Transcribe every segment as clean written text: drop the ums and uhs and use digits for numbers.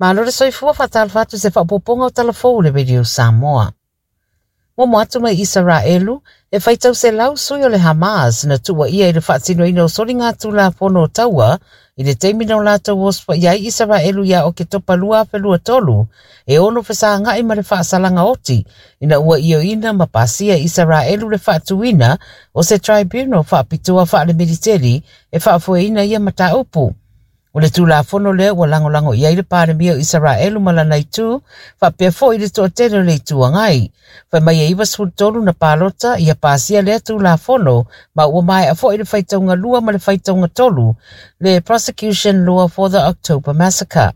Malo le soifua faatalofa atu i se faaopoopoga o Tala Fou o le Radio Samoa. Muamua atu mai Isaraelu, e faitau selau sui o le Hamas na tuuaia i le faatinoina o soligatulafono o taua i le taimi na o latou osofaia ai Isaraelu ia Oketopa 2023, e ono fesagai ma le faasalaga oti ina ua ioeina ma pasia e Isaraelu le faatuina o se tribunal faapitoa faalemiliteli e faafoeina ia mataupu. O le Tulafono lea ua lagolago i ai le Palemia o Isaraelu ma lana itu, faapea foi le toatele o le Itu Agai. Fai mai e 93 na palota ia pasia lea Tulafono ma ua maea foi le faitauga lua ma le faitauga tolu, le Prosecution Law for the October Massacre.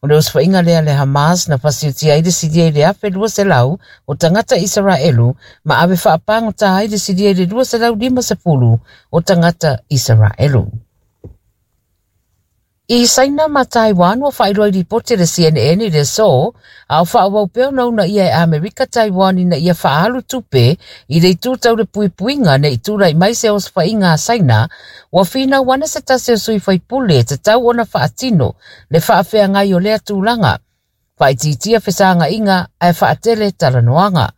O le osofaiga lea a le Hamas na fasiutia ai le silia i le 1,200 o tagata Isaraelu ma ave faapagota ai le silia i le 250 o tagata Isaraelu. I Saina ma Taiwan ua faailoa i lipoti a le CNN i le aso, a o faaauau pea ona uunaia e Amerika Taiwan ina ia faaalu tupe i le itu tau le puipuiga ne i tulai mai se osofaiga a Saina, ua finau ana se tasi o sui faipule e tatau ona faatino le faafeagai o lea tulaga. Faaitiitia fesagaiga ae faatele talanoaga.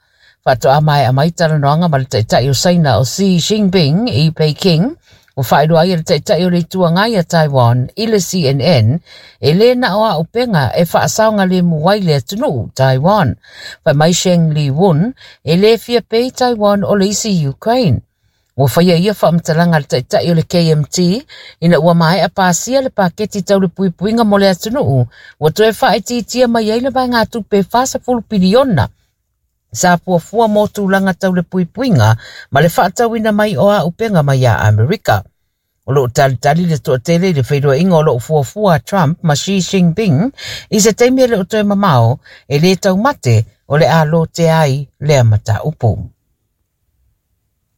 Faatoa maea mai talanoaga ma le Taitai o Saina o Xi Jinping i Peking, ua faailoa ai e le Taitai o le Itu Agai a Taiwan i le CNN, e le na o auupega e faasaogalemu ai le atunuu, Taiwan. Fai mai Sheng Li-wun, e le fia pei Taiwan o le isi Ukraine. Ua faia ia faamatalaga a le Taitai o le KMT ina ua maea pasia le paketi tau le puipuiga mo le atunuu, ua toe faaitiitia mai ai le vaegatupe e 40 piliona sa fuafua mo tulaga tau le puipuiga ma le faatauina mai o auupega mai ia Amerika. O lo o talitali le toatele i le feiloaiga o lo o fuafua a Trump ma Xi Jinping i se taimi e le o toe mamao, e le taumate o le a lotea ai lea mataupu.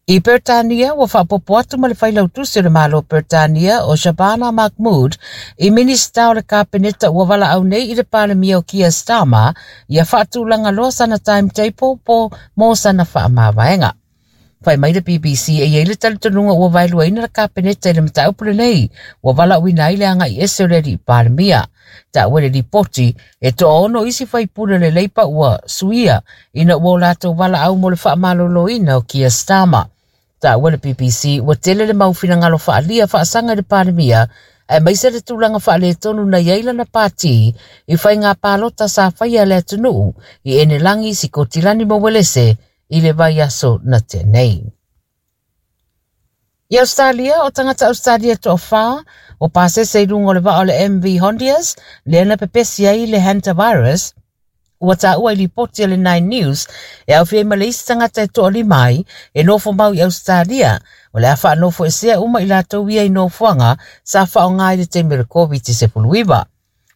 I Peretania, ua faaopoopo atu ma le Failautusi o le Malo o Peretania o Shabana Mahmood i Minisita o le Kapeneta ua valaau nei i le Palemia o Keir Starmer ia faatulaga loa sana timetable po mo sana faamavaega. Fai mai le BBC e i ai le talitonuga ua vaeluaina le Kapeneta i le mataupu lenei ua valaauina ai le agai ese o le alii Palemia. Taua i le lipoti, e toaono isi faipule o le Leipa ua suia ina ua o latou valaau mo le faamaloloina o Keir Starmer. Taua le BBC ua tele le mau finagalo faaalia faasaga i le Palemia aemaise le tulaga faaletonu na i ai lana pati i faiga palota sa faia e le atunuu i Enelagi, Sikotilani ma Uelese i le vaiaso na tea nei. I Australia, o tagata Australia e toafa o pasese i luga o le vaa o le MV Hondius, lea na pepesi ai le hantavirus, ua taua i lipoti a le Nine News e aofia ai ma le isi tagata e toalima ai e nofo mau i Australia, o le a faanofoesea uma i latou ia i nofoaga sa faaaoga i le taimi o le Koviti-19.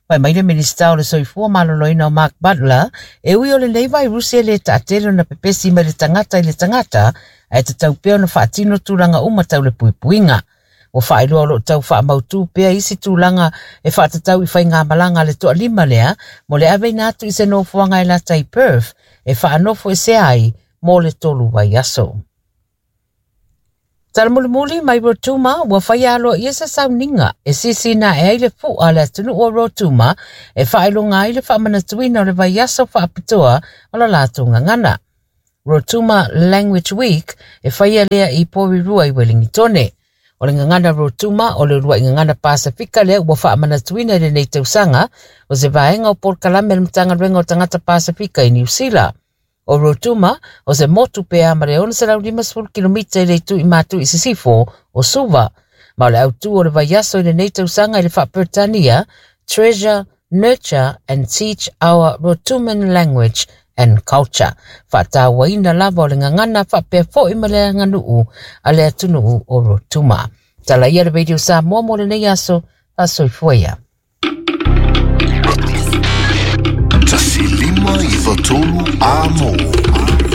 Fai mai le Minisita o le Soifua Maloloina o Mark Butler, e ui o lenei vairusi e le taatele ona pepesi mai le tagata i le tagata, ae tatau pea ona faatino tulaga uma tau le puipuiga. Ua faailoa o lo o tau faamautu pea isi tulaga e faatatau i faigamalaga a le toalima lea mo le aveina atu i se nofoaga e lata i Perth e faanofoesea ai mo le tolu vaiaso. Tala mulimuli mai Rotuma ua faia aloaia se sauniga e sisina ae ai le fu'a a le atunuu o Rotuma e faailoga ai le faamanatuina o le vaiaso faapitoa o la latou gagana. Rotuma Language Week e faia lea i Porirua i Welingitone. O le gagana Rotuma o le uluai gagana Pasefika lea ua faamanatuina i lenei tausaga o se vaega o polokalame a le Matagaluega o Tagata Pasefika i Niu Sila. O Rotuma, o se motu pea ma le 650 kilomita i le itu i matu i sisifo o Suva. Ma o le autū o le vaiaso i lenei tausaga i le faa-Peretania, Treasure, Nurture and Teach Our Rotuman Language and Culture. Faatauaina lava o le gagana faapea foi ma le aganuu a le atunuu o Rotuma. Tala ia le Radio Samoa mo lenei aso, faasoifua ia. 1593 Amo.